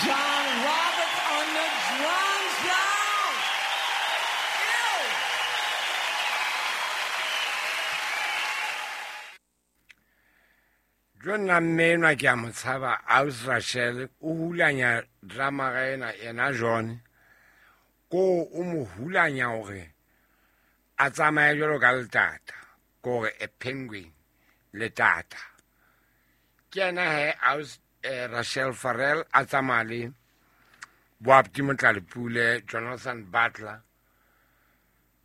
John Roberts on the drums, y'all. Ew. Jo nna mme enwa ke a mo tshaba, Aus Rachel o hulanya drama ena ena John ko o mo hulanya hore a tsamaye jwalo ka letata, kore a penguin letata. Ke yena he Aus Rachel Farrell a tsamaya le Boapti Motlalepule, Jonathan Butler,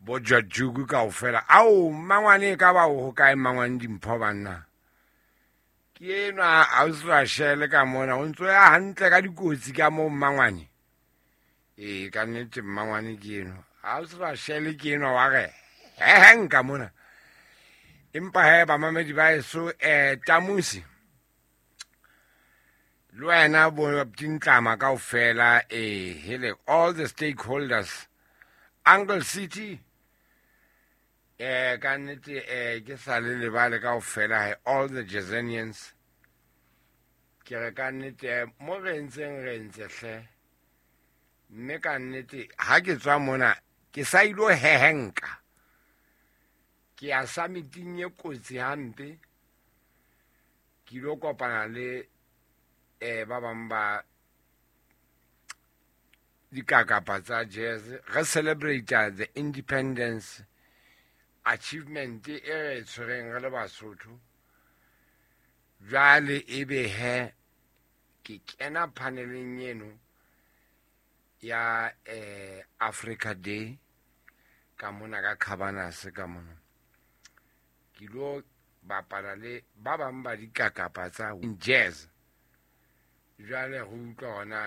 bo George kaofela. Ao mmangwane e ka ba o hokae mmangwane dimpho banna? Ke enwa Aus Rachel ka mona, o ntso ya hantle ka dikotsi ka moo mmangwane. Ee, ka nnete mmangwane ke enwa. Aus Rachel ke enwa wa re heheng ka mona. Empa he bamamedi ba eso Tamusi le wena bo Tintlama kaofela, hele all the stakeholders, Uncle City, ka nnete ke sa le lebale kaofela he all the Jazanians. Ke re ka nnete mo re ntseng re ntse hle, mme ka nnete ha ke tswa mona ke sa ilo hehenka, ke ya summiting e kotsi hampe, ke ilo kopana le ba bang ba dikakapa tsa jazz, re celebrate the independence achievement e re tshwereng re le Basotho. Jwale ebe he ke kena paneleng eno ya Africa Day ka mona ka Cabanas ka mona, ke lo bapala le ba bang ba dikakapa tsa jazz. Jwale re utlwa hona